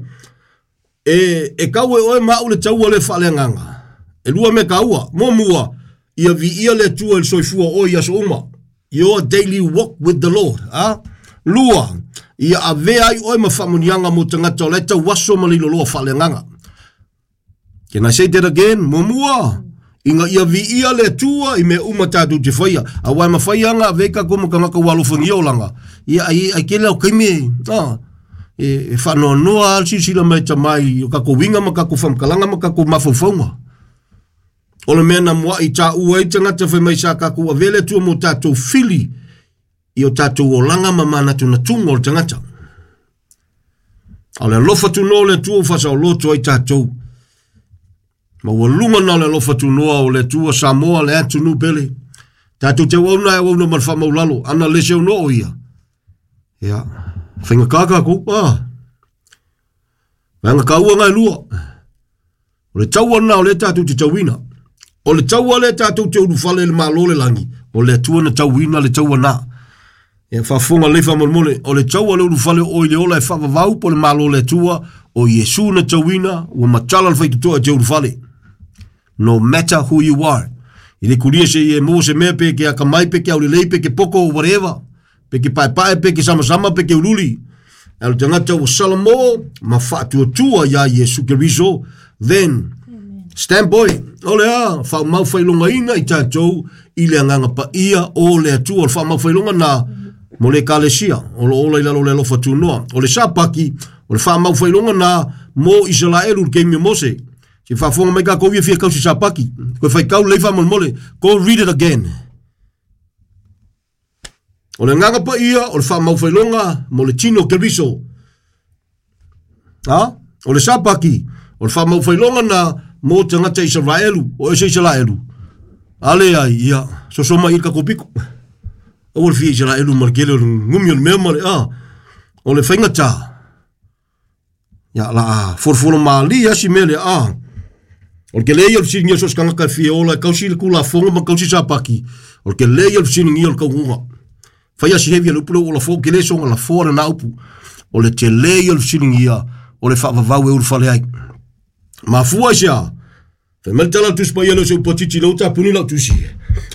E, e kau e oe ma au le taua le faaleagaga. E lua mea taua. Muamua, ia viia le Atua i le soifua o oe i aso uma. Your daily walk with the Lord. A? Lua, ia avea ai oe ma faamanuiaga mo tagata o la e tauaso ma le iloloa faaleagaga. Can I say that again? Muamua, ina ia viia le Atua i mea uma tatou te faia. Aua e mafai lava ona ave tatou ma tagata ua alofagia olaga. Ia, ai, ai tele au taimi, ah, e, e faanoanoa lava le silasila mai tama i o tatou uiga ma tatou faamatalaga ma tatou mafaufauga. O le mea na muai taua ai tagata fai mai sa tatou avea le Atua mo tatou fili i o tatou olaga ma manatunatuga o le tagata. A o le alofa tunoa o le Atua ua faasaoloto ai tatou. Ma ua luga na o le alofa tunoa o le Atua Samoa le atunuu pele. Tatou te auauna e auauna ma le faamaulalo, ana le se ono o ia. Ia, faigata tatou, ah. Vaega taua na e lua. O le taua lena o lea tatou te tauina. O le taua lea tatou te ulufale i le Malo o le lagi, o le Atua na tauina le taua na. Ia faafofoga lelei faamolemole, o le taua le ulufale o oe i le ola e faavavau po o le Malo o le Atua, o Iesu na tauina, ua matala le faitotoa e te ulufale. No matter who you are. I le kulia se i e maua se mea pe ke akamai, pe ke aulelei, pe ke poko, whatever. Pe ke paepae, pe ke samasama, pe ke uliuli. A o le tagata ua salamo ma faatuatua iā Iesu Keriso, then stand boy, o le a, faamaufailogaina i tatou i le agaga paia o le Atua. O le faamaufailoga na mo le Ekalesia o lo o ola i lalo o le alofa tunoa. O le sapaki, o le faamaufailoga na mo Isaraelu i le taimi o Mose. Se faafofoga mai tatou ia fia kausi sapaki. Koe faitau lelei faamolemole. Go read it again. O le agaga paia o le faamaufailoga mo le tino o Keriso. A? O le sapaki, o le faamaufailoga na mo tagata Isaraelu, o ese Isaraelu. A leai, ia, soso mai i le tatou piko. Aua le fia Isaraelu ma le tele o le gumi o le mea ma le, a, o le faigata. Ia, la a folofolo malie lava si mea lea, a. O le tele ia o le fesiligia o so o se tagata e fia ola e kausi le Tulafono ma kausi sapaki, o le tele ia o le fesiligia o le taunuuga. Fai lava si heavy a le upu lea ua ou lafoa, ou te le soona lafoa lena upu. O le tele ia o le fesiligia o le faavavau e ulufale ai. Mafua i se a? Fai mai le tala a le Tusi Paia lea o se upu a Titi lea ua tapuni lau tusi.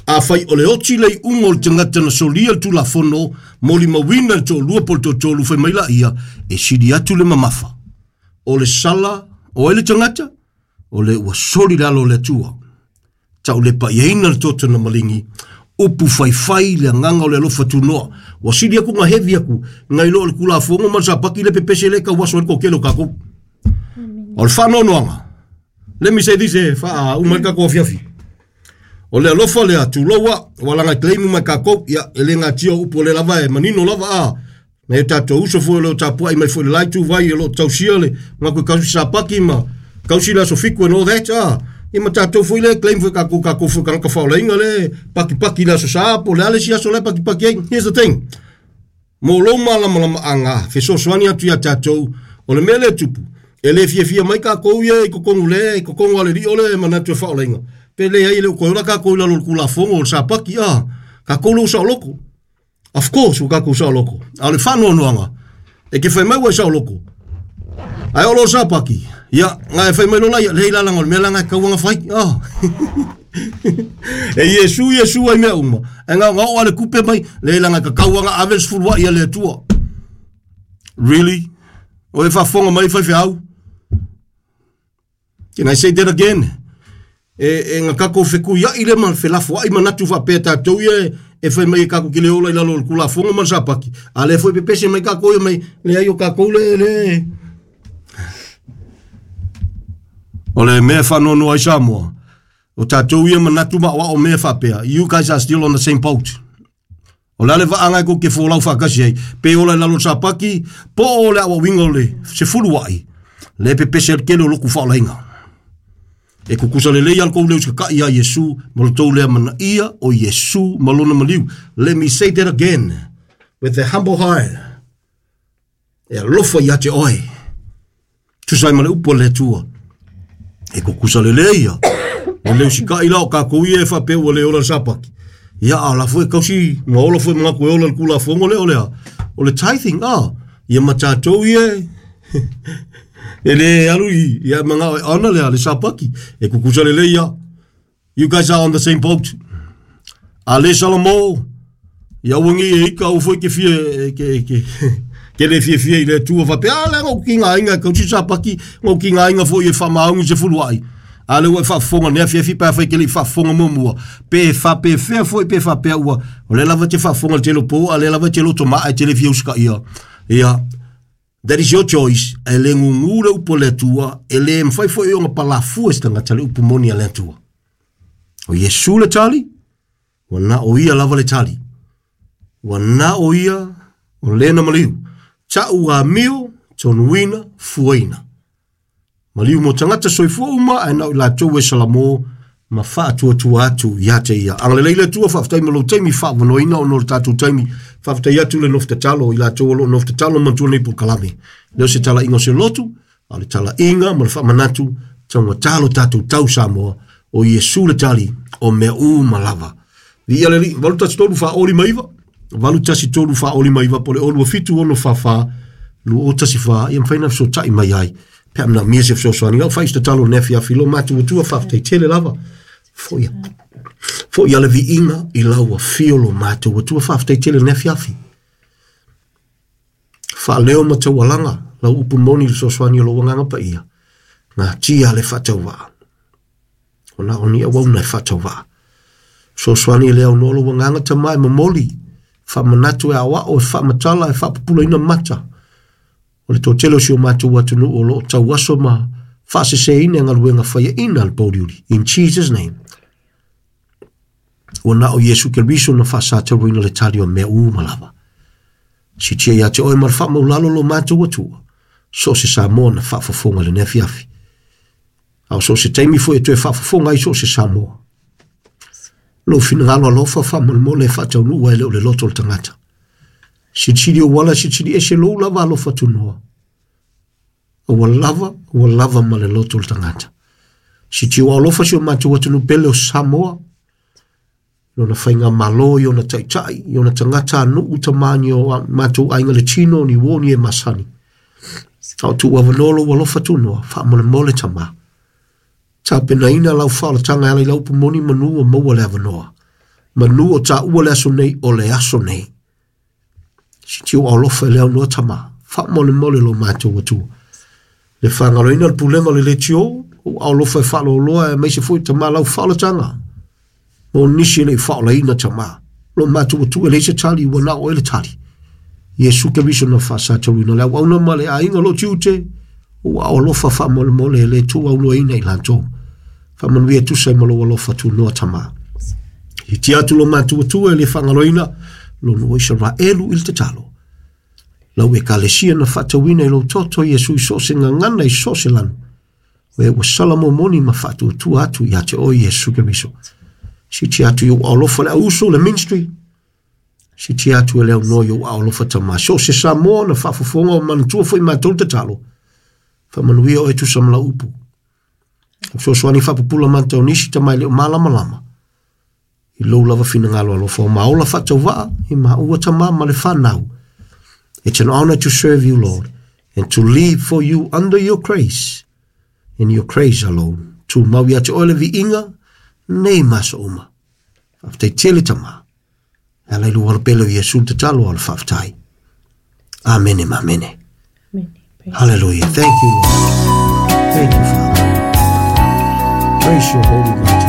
Afai o le oti le iuga o le tagata na solia le Tulafono, molimauina le toalua po o le toatolu, fai mai laia, e sili atu le mamafa. O le sala o ai le tagata? O le ua soli le alo o le Atua. Taulepaiaina le toto na maligi, upu faifai le agaga o le alofa tunoa. Ua sili aku na heavy aku, nai lo o le Tulafono ma le Sapati le pepese le tauaso ai le toatele o tatou. O le faanoanoaga, let me say this e faauma ai le tatou afiafi. O le alofa lea, tulou a, ua laga e claim uma e tatou, ia, e le natia o upu o lea lava e manino lava a, nai o tatou uso foi o lo o tapuai mai foi i le la ituvai o lo o tausia le manatu e kausi Sapati ma kausi le aso Fitu and all that, a, ia ma tatou foi lea e claim foi tatou, tatou foi tagata faolaina le pakipaki i le aso Sa po o le a le isi aso la e pakipaki ai. Here's the thing, Mo lou malamalamaaga, fesoasoani atu iā tatou, o le mea lea e tupu, e le fiafia mai tatou ia i totonu le, i totonu a le Alii o le manatu e faaolaina, pe leai e le o toe ola tatou i lalo o le Tulafono o le Sapati, a, tatou lea ua saoloto. Of course ua tatou saoloto. A o le faanoanoaga, e te fai mai ua e saoloto, ae o lo Sapati, ia, na e fai mai lola ia, lei lalaga o le mea la na e tatau ona fai, a. E Iesu, Iesu ai mea uma. E ngao ngao ale kupe mai, le langa ka kauanga ave le sefulu ai le Atua. Really? O e faafofoga mai faifeau. Can I say that again? E, e na kakou fekuiaʻi lea ma le felafoaʻi manatu faapea tatou ia e fai mai e kakou ke le ola i lalo o le kulafono ma le sapaki, a lea foi pepese mai kakou ia mai, leai o kakou le le o le mea e faanoanoa ai Samoa, o tatou ia manatu ma aoao mea faapea, you guys are still on the same boat. O le a le vaaga e kou te folau faatasi ai, pe ola i lalo o le sapaki, po o le aoaoina o le sefuluaʻi, lea e pepese ai le tele o lotu faaolaina. E kukusa lelei a le tou leo i ia Iesu ma lo tou lea manaia o Iesu ma lona maliu. Let me say that again with a humble heart. E alofa ia te oe. Tusa ai ma le upu a le Atua. E kukusa lelei ia. O le usikaʻi la o kakou ia e faapea ua le ola le sapaki. Ia a la foi kausi ma ola foi manatu e ola le kulafono lea o le a. O le tithing, ah, ia ma tatou ia e e le alu i ia mangao e ona le a le sapaki. E kukusa lelei ia. You guys are on the same boat. A le Salamo, ia ua nei e ika au foi ke fia ke ke ke le fia fia i le Atua faapea, a le ngau ki ngā inga kau si sapaki, ngau ki ngā inga foi e whamaungi se fuluai. A le ua e faafofoga nei afiafi pe afai ke le i faafofoga muamua. Pe faapefea foi pe faapea ua, o lea lava e te faafofoga i le tele o pou, a lea lava e te loto maa e te le fia usitaia. Ia, that is your choice. E le gugū le upu a le Atua, e le mafai foi ona palafua e se tagata le upu moni a le Atua. O Iesu le tali, ua na o ia lava le tali. Ua na o ia o lena maliu. Ta'u amio, tonuina, fuaina. Maliu mo tagata soifua uma ae na o i latou e salamo ma faatuatua atu ia te ia. Agalelei le Atua, faafetai mo lou taimi faavanoaina ona o le tatou taimi. Faafetai atu le nofo tatalo i latou o lo o nofo tatalo ma manatua lenei polokalame. Le o se talaiga o se lotu, a o le talaiga ma le faamanatu taugata lo tatou tau Samoa, o Iesu le tali o mea uma lava. Viia le Alii, 813 459, 813 459, po o le 027 644 2014, ia mafai ona fesootai mai ai pe a manaomia se fesoasoani. Lau fai se tatalo i lenei afiafi, lo matou Atua, faafetai tele lava. Foi, foi a le viiga i lau afio lo matou Atua, faafetai tele i lenei afiafi. Faaleo ma taualaga lau upu moni i le fesoasoani o lou agaga paia. Natia le faatauvaa. O na o ni auauna e faatauvaa. Fesoasoani e le aunoa lou agaga tama e momoli, faamanatu e aoao, e faamatala, e faapupulaina mata. O le toatele o si o matou atunuu o lo o tauaso ma faaseseina e galuega faiaina a le pouliuli. In Jesus name. Ua na o Iesu Keriso na faasatauaina le tali o mea uma lava. Sitia ia te oe ma le faamaulalo lo matou Atua, so o se Samoa na faafofoga i lenei afiafi. A o so o se taimi foi e toe faafofoga ai so o se Samoa. Lou finagalo alofa faamolemole e faataunuu ai le o le loto o le tagata. Silisili ou ala, silisili ese lou lava alofa tunoa. Ua lava, ua lava ma le loto o le tagata. Sitiu alofa si o matou atunuu pele o Samoa, lona faigamalo i ona taitai, i ona tagata nuu tamani o matou aiga le tino, ni uo ni e masani. A o tuu avanoa lou alofa tunoa, faamolemole tama. Tapenaina lau faaolataga e ala i lau upu moni manu ua maua le avanoa. Manu o taua le aso nei o le aso nei. Sitiu alofa i le aunoa tama. Faamolemole lo matou Atua. Le faagaloina le pulega o le leitio, ou alofa e faaloloa aemaise foi tama lau faaolataga. Mo nisi e le i faaolaina tama. Lo matou Atua e leai se tali ua na o oe le tali. Iesu Keriso na faasatauina le auauna ma le aiga o lo tiute, ua alofa faamolemole e le tuuaunoaina i latou. Faamanuia tusa ai ma lou alofa tunoa tama. I tia atu lo matou Atua e le faagaloina lo nuu o Isaraelu i le tatalo. Lau ekalesia na faatauina i lou toto Iesu i so o se gagana i so o se lanu. O e ua sala momoni ma faatuatua atu ia te oe Iesu Keriso. Sitia atu i ou alofa le auuso le ministry. Sitia atu e le aunoa i ou alofa tama. So o se Samoa na faafofoga o manatua foi matou le tatalo. Faamanuia oe tusa ma lau upu. Fesoasoani faapupula mata o nisi tama e le o malamalama. I lou lava finagalo alofa o maola faatauvaa i maua tama ma le whanau. It's an honor to serve you, Lord, and to live for you under your grace and your grace alone. Tu mau ia te oe le viiga, nei ma aso uma. Faafetai tele tama. E ala i lou alo pele o Iesu le tatalo a le faafetai. Amene ma amene. Amen. Praise Hallelujah. Thank you, Lord. Thank you, Father. Praise your holy mighty.